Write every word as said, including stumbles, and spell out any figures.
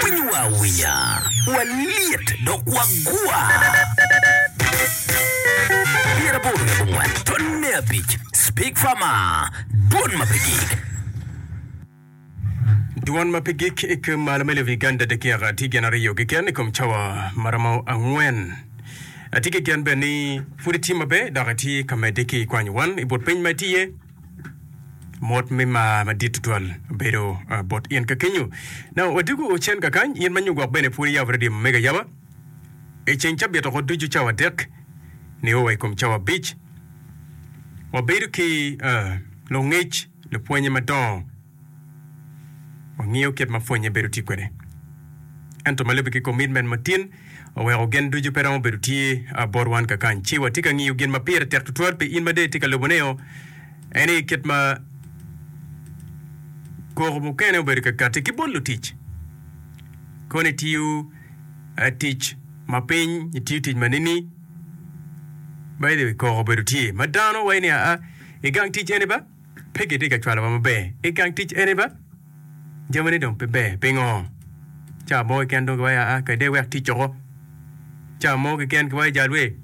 Winyowa awinya, walyet dok wagwa. Pyeraboro wiye abongwen tonne abic Speak Farmer, Dwon ma pe gik. Dwon ma pe gik i kom malo me lobo Uganda dakika tye gin aryo keken i kom cawa ma romo angwen. Atye ki gen bene ni pud itye maber dok itye ka medde ki kwanyo wan i but piny ma itye iye. Mot me mar madit tutwal obedo bot in ka kenyo. Now wadwogo cen kakany, in ma nyo gwok bene pud iyabo radio ma mege ayaba i ceng cabit oko ducu cawa adek nio wa i kom cawa abic. Wabedo ki lungec, lupwonye madongo. Wangiyo kit ma pwonye bedo tye kwede. Ento ma lubbe ki commitment ma tin oweko gin ducu pe romo bedo tye bot wan kakany. Ci watye ka ngiyo gin ma pire tek tutwal pi in ma dong itye ka lubone-o, en aye kit ma koko mukene obedo ka katti ki bot lutic. Kono itiyo tic ma piny, itiyo tic ma nini? By the way, koko obedo tye ma dano waco ni aa i gang tic eni ba pe gitye ka cwalowa maber. I gang tic eni ba jamine dong pe ber. Pingo? Ca mo keken dong giwaco aa kede iwek tic oko. Ca mo keken giwaco jal we